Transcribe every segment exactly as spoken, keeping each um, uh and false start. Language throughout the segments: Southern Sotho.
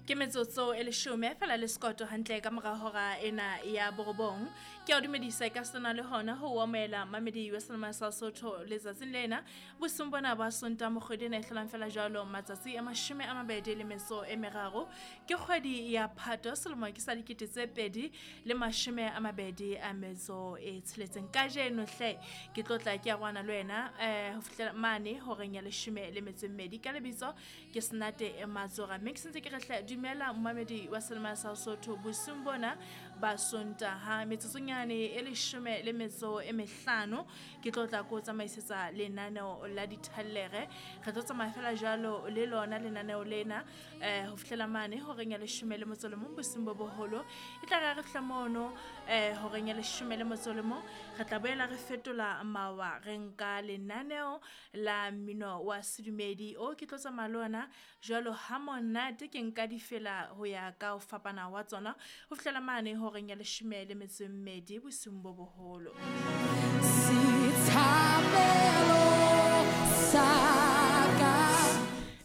Ke metsotso e leshome fela le sekoto hantle ka mora hora ena ya borobong. Ke a o dumedisa ka sena le hona ho o amohela mamedi wa Selema sa Sotho letsatsing lena. Bosiung bona ba Sontaha mokgwedi ena e hlolang fela jwalo matsatsi a mashome a mabedi le metso e meraro. Ke kgwedi ya Phato selemo ke sa dikete tse pedi le mashome a mabedi a metso e tsheletseng. Kajeno hle ke tlotla ke a rwana le wena eh ho fihlela mane horeng ya leshome le metso e mmedi. Ka lebitso ke Senate Matsora. Mme ke sentse ke re hle dumela momamedi wa Selema sa Sotho bosiung bona ba Sontaha metsotsonyane e leshome le metso e mehlano ke tlo tla ko tsamaisetsa lenaneo la dithallere. Re tlo tsamaya fela jwalo le lona lenaneo lena eh ho fihlela mane horeng ya leshome le motso le mong bosiung bo boholo. E tla re ha re fihla mono eh horeng ya leshome le motso le mong re tla boela re fetola mawa re nka lenaneo la mmino wa sedumedi o ke tlo tsamaya le ona jwalo ha monate ke nka difela ho ya ka ho fapana wa tsona ho fihlela mane horeng ya leshome le metso e mmedi bosiung bo boholo. Setshabelo sa ka.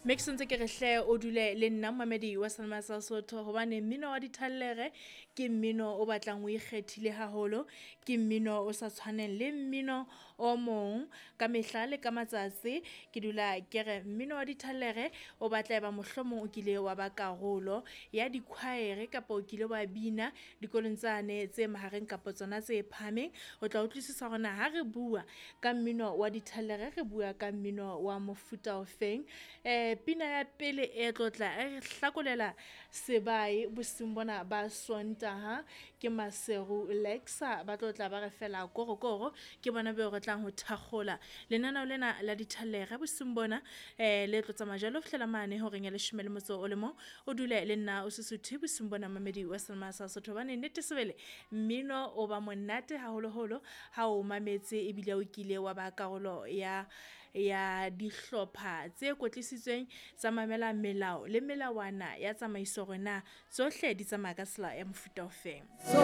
Mme ke sentse ke re hle o dule le nna momamedi wa Selema sa Sotho hobane mmino wa dithallere ke mmino o batlang o ikgethile haholo, ke mmino o sa tshwaneng le mmino o mong ka mehla le ka matsatsi. Ke dula ke re mmino wa dithallere o batla eba mohlomong o kile wa ba karolo ya dikhwaere kapa o kile wa bina dikolong tsane tse mahareng kapa tsona tse phahameng. O tla utlwisisa hore na ha re bua ka mmino wa dithallere re bua ka mmino wa mofuta ofeng. Eh pina ya pele e tlotla e re hlakolela sebae bosiung bona ba Sontaha ke Maseru Lexa ba tlotla ba re fela korokoro ke bona beo re tlang ho thakgola lenaneo lena la dithallere bosiung bona eh le tlo tsamaya jwalo ho fihlela mane horeng ya leshome le motso o le mong. O dule le nna o sesuthe bosiung bona mamedi wa Selema sa Sotho hobane nnete sebele mmino o ba monate haholoholo ha o mametse ebile o kile wa ba karolo ya ya dihlopha tse kwetlisitsweng tsa mamela melao le melawana ya tsamaiso hore na tsohle di tsamaya ka tsela ya mofuta ofeng. So